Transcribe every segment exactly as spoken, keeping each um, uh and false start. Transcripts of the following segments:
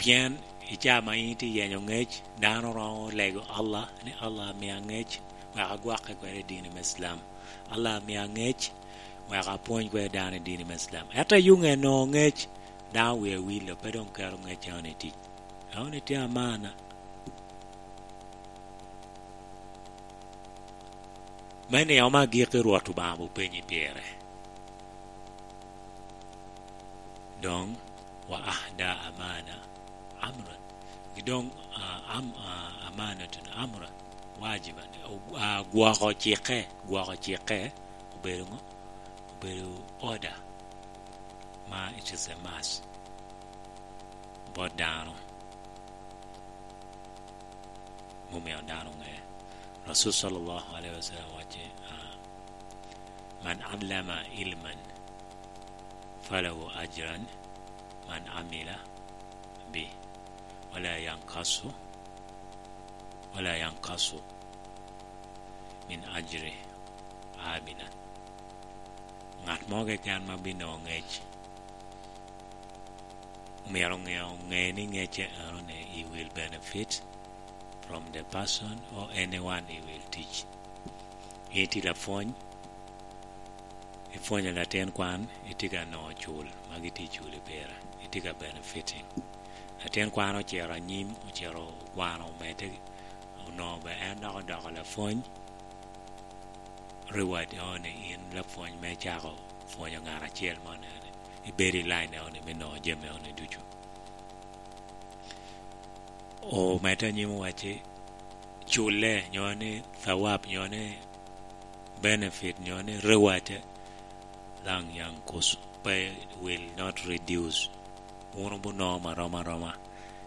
Pien i caa ma in itye yenyo ngec, dano romo lego Allah, ni, "Allah, mia ngec, wek agwokke kwede i dini me Islam. Allah, mia ngec, wek apwony kwede dano i dini me Islam." Ento i yuŋe nongo ngec, dano wie wilo, pe doŋ keto ngec eno i tic. Eno ni tye amana. Me nino me agikki Rwot Obaŋa openyi pire. Doŋ, "Wa ahda amana amran." Gi doŋ, ah, am-, ah, amanatun amran wajiban. O-, ah, gwoko cikke, gwoko cikke obedo ŋo? Obedo order ma it is a must bot dano. Mumeo dano ŋe. Rasul sallallahu alaihi wasallam wacce, ah, "Man allama ilman falahu ajran man amila bi, wala yankasu, wala yankasu min ajri abidan." Ngat mo keken ma bino ŋec, myero ŋe, ŋe ni ŋecce eno ni he will benefit from the person or anyone he will teach. In itye lapwony, ipwonyo latin kwan, itye ka nongo cul ma gitye culi pire, itye ka benefiting. Latin kwan ocito anyim, ocito okwano omedde, onongo be en dok odoko lapwony. Reward eno ni in lapwony me cako pwonyo ngat acel mo, nene ibedo i line eno ni me nongo jami eno ni ducu. Omedde anyim owacci, culle, nyo ni thawab, nyo ni benefit, nyo ni reward, lang yankus, pe, will not reduce. Wun wubinongo marom aroma.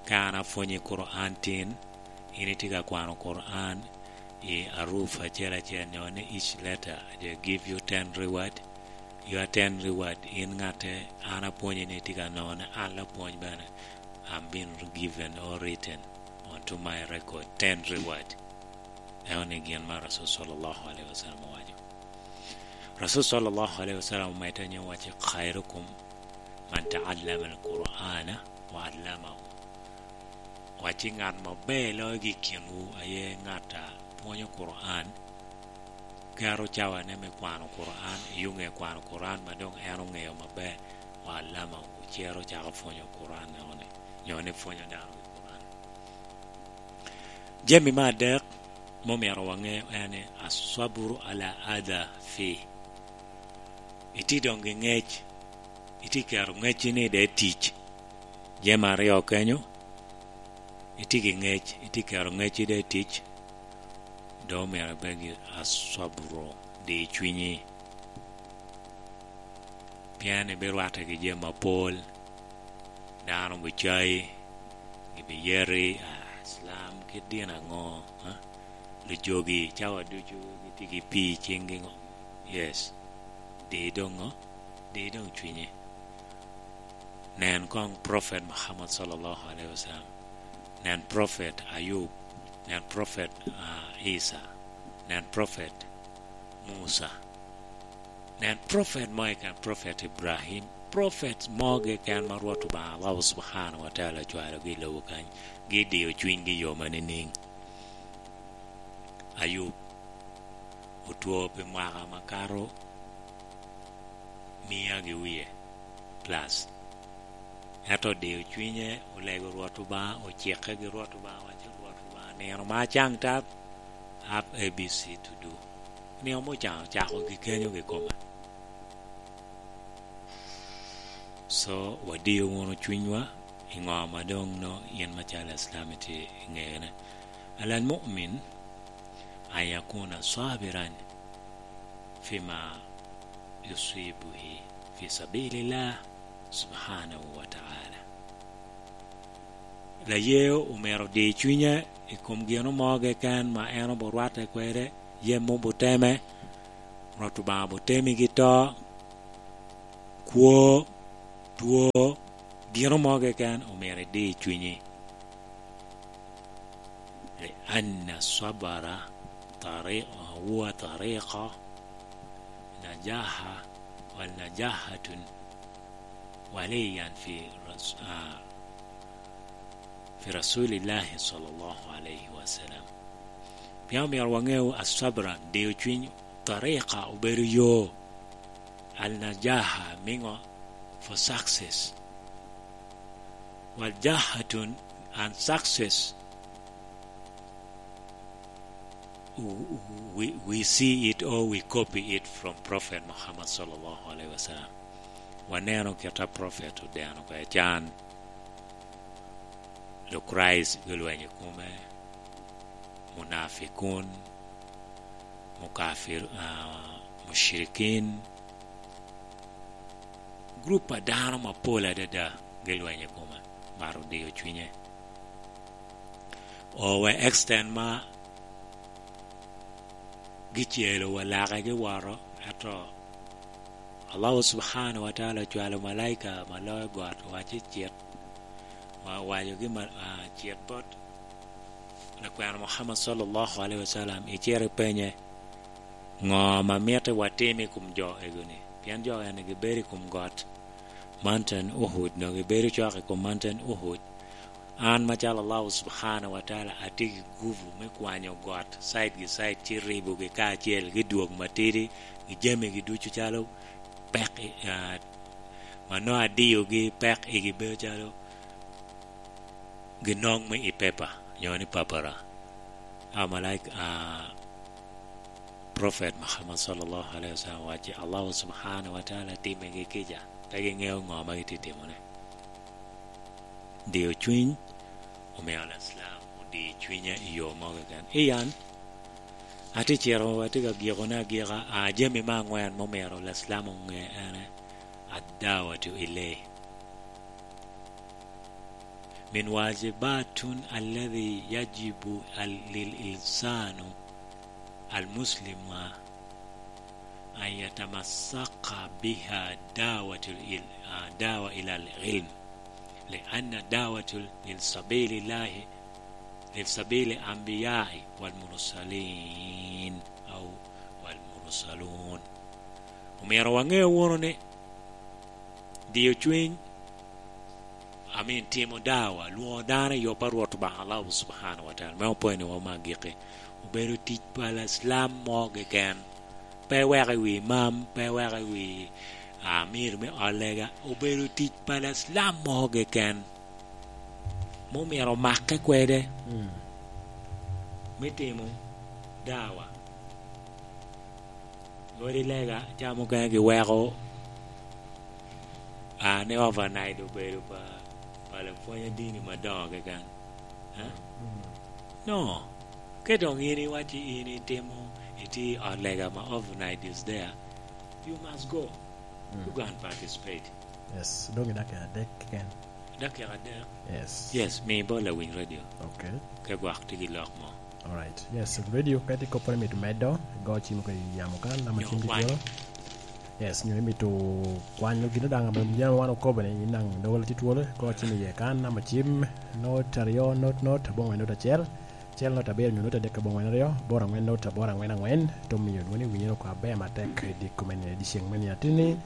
Ka an apwonyi Quran tin, in itye ka kwano Quran i aruf acel acel, nyo ni each letter, they give you ten reward. Your ten reward, in ŋatte an apwonyi ni itye ka none, an lapwony bene, I'm being given or written onto my record ten reward. Eno ni gin ma Rasul sallallahu alaihi wasallam owaco. Rasul sallallahu alaihi wasallam omedde ni wacce, "Khairukum man ta'allama al-Qur'ana wa 'allamahu." Wacci, "Ngat maber loyogi i kinwu aye ngat a pwonyo Quran, keto cawane me kwano Quran, i yuŋe kwano Quran ma doŋ en oŋeo maber, wa 'allamahu, cero cako pwonyo Quran eno ni, nyo ni pwonyo dano i Quran." Jami me adek ma omyero waŋe en ni, "Aswaburu ala adha fi." Itye doŋ gi ŋec, itye keto ŋecci ni de tic. Jami aryo kenyo, itye gi ŋec, itye keto ŋecci de tic, dok omyero ibed gi aswaburu, di cwinyi. Pien ibirwatte ki jami apol, dano bicai, gibiyeti, ah, Islam kit dini aŋo, ha? Lujogi, cawa ducu gitye ki pii i ciŋgi ŋo? Yes. Di doŋ ŋo? Di doŋ cwinyi. Nen koŋ Prophet Muhammad sallallahu alaihi wasallam. Nen Prophet Ayub. Nen Prophet, ah, Isa. Nen Prophet Musa. Nen prophet mo keken, prophet Ibrahim, prophet mo keken ma Rwot Obaŋa Allah Subhanahu wa Taala ocwalogi i lobo kany, gidiyo cwinygi i yo ma nining? Ayub otwo pi mwaka makato mia gi wie plus. Ento odiyo cwinye, olego Rwot Obaŋa, ocikke gi Rwot Obaŋa, wacci, "Rwot Obaŋa, nino ma acaŋ tap, have A B C to do." Nino ma ocaŋ ocako gi kenyo gi kome. So, wadiyo wunu cwinywa i ŋo ma doŋ no in macalo Islam itye i ŋene. Ala al-mu'min an yakuna sabiran fima yusibuhi fi sabilillah subhanahu wa ta'ala. Laye omyero di cwinye i kom gino mo keken ma en oburwatte kwede, yem obuteme, Rwot Obaŋa obutemi gi to, kwo, two, gino mo keken omyero idi cwinyi. Lianna sabara tari-, huwa tariqa najaha, wal najahatun waliyan fi ras-, ah, Rasulillahi sallallahu alaihi wasallam. Pien omyero waŋeu asabran, diyo cwiny, tarika obedo yo, al-najaha, miŋo for success. Wal jahatun and success, w-, w-, we, we see it or we copy it from Prophet Muhammad sallallahu alaihi wasallam. Waneno kit a Prophet odeno kwede can. Lokraic gilweny i kome, munafikun, mukafir, ah, mushrikin, gurup a dano mapol adada gilweny i kome, mar odiyo cwinye. Owe extent ma gicelo wa lake giwoto, ento Allahu subhanahu wa taala ocwalo malaika ma loyo got, owaco cit, wa-, owacogi ma-, ah, cit bot lakwena Muhammad sallallahu alaihi wasallam, icit ipenye, "Ŋo ame mitte watim i kom jo egoni?" Pien jo eni gibedo i kom got, Mountain Uhud, nongo gibedo cok i kom Mountain Uhud. An macalo Allahu subhanahu wa taala atye ki guvu me kwanyo got side gi side, ci ribogi kacel, gi dwog matidi, gi jamigi ducu calo pek, ah, ma nongo adiyogi pek igi bedo calo ginoŋ me i pepa, nyo ni papara. Amalaika, ah, Prophet Muhammad sallallahu alaihi wasallam owacci, Allahu subhanahu wa taala timmigi kica, pe giŋeo ŋo ma gitye timone. Diyo cwiny omio Al-Islam odiyo cwinye i yo mo keken. I an, atye cito, atye ka gikone agika, a, jami me aŋwen ma omyero Al-Islam oŋe ene, ad-dawatu ilay. Min wajibatun alladhi yajibu al-, lil insanu al-muslima an yatamassaka biha dawatul il-, ah, dawa ilal ilm, li anna dawatul lil sabilillahi, lil sabili anbiyai wal mursalin, au wal mursalun. Omyero waŋe wunu ni diyo cwiny, I mean, timo dawa, lwoŋo dano i yo pa Rwot Obaŋa Allahu subhanahu wa taala, me opwony ni wa me agikki, obedo tic pa Islam mo keken. Pe weko i wi imam, pe weko i wi amir me ot lega, obedo tic pa Islam mo keken. Ma omyero omake kwede, mm, me timo dawa. Odi lega, ca mukene giweko, a, ni overnight obedo pa, pa lapwony adini madoŋo keken. Eh? Mm. No. Ka doŋ in iwacci in itimo, itye i ot lega ma overnight is there, you must go. Mm. You go and participate. Yes, doŋ i dakika adek keken. Dakika adek? Yes. Yes, mi bot lawiny radio. Okay. Ka gwok tye ki lok mo. Alright. Yes, radio ka tye kopporo imito medo, igo cim oko i yamo kan, namba cim tye twolo. Yes, nyo imito kwanyo gino daŋ ame jami wan okobo ni, in daŋ doggola tye twolo, igo cim iye kan, namba cim, not aryo, not, not, abongwen, not acel, acel, not abiro, nyo not adek, abongwen aryo, aboro angwen, not aboro angwen angwen, to miyo dwoni winyere oko aber matek i diko me ni, i dyeceŋ me ni atini,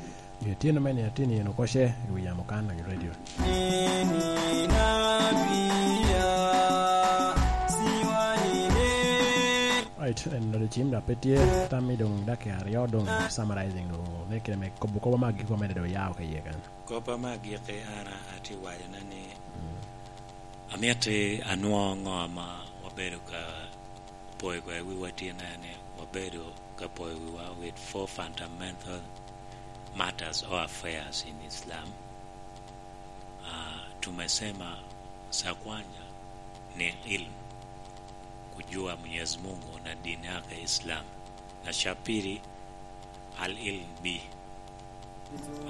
Omiyo tyen me ni ateni en okoce i wi yamo kan i radio. Right, en nodi cim dok pe tye tam i doŋ dakika aryo doŋ summarizing doŋ ne kite me kobo kobo me agikki omedde doŋ yao ka iye kan. Kop ame agikki an atye wacone ni, mm, amito anwoŋo ŋo ma wabedo ka poyo kwede wiwa tye ni wabedo ka poyo wiwa with four fundamental matters or affairs in Islam. Ah, tumesema za kwanza ni ilmu, kujua Mwenyezi Mungu na dini yake Islam. Na cha pili, al-ilm bi,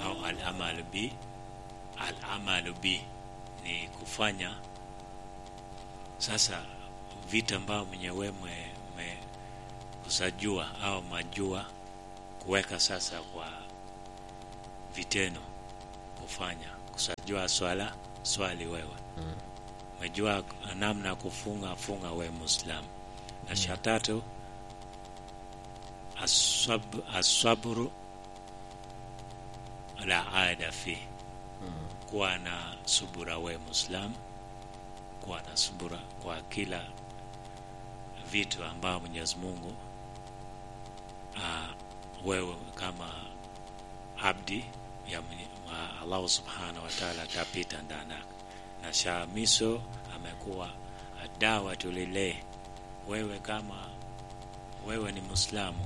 au al-amal bi, al-amal bi, ni kufanya sasa vita ambao mwenyewe mwe-, mwe-, kusajua au majua kuweka sasa kwa vitendo kufanya. Kusajua swala, swali wewe. Mm. Umejua namna kufunga, funga we Muislamu. Na, mm, cha tatu, aswab-, aswaburu la ada fi. Mm. Kuwa na subura we Muislamu. kuwa na subura kwa kila vitu ambao Mwenyezi Mungu, ah, wewe kama abdi ya Mwenye-, wa Allah Subhanahu wa Ta'ala atapita ndanak. Na sha miso amekuwa adawa tulile. Wewe kama wewe ni Muislamu,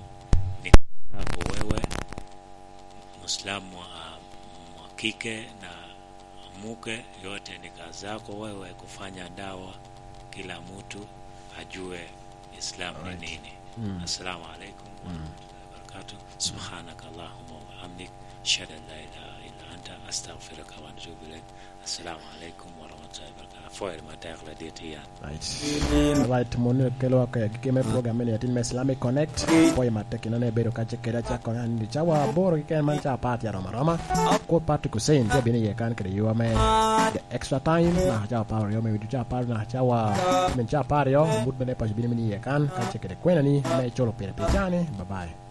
ni yako wewe, Muislamu wa, wa kike na muke yote ni kazi yako wewe kufanya dawa, kila mtu ajue Islam ni nini. Assalamu alaikum warahmatullahi wabarakatuh. Subhanaka Allahumma wa bihamdik. Ashhadu an la ilaha illa anta, astaghfiruka wa atubu ilaik. Assalamu alaikum warahmatullahi wabarakatuh. Afoye matek ladit yan. Right. Right, mon kelo ka gike me program ni atin me Islamic Connect. Afoye matek ino ne bedo kace kede acako an di cawa aboro keken man ca apar tye aromo aroma. Ko Patrick Hussein tye bino iye kan kede yua me the extra time. Na cawa apar aryo me wido ca apar na cawa men ca apar aryo. Mut me ne paco bino mini iye kan kace kede kwena ni me colo pire pi cani. Bye bye.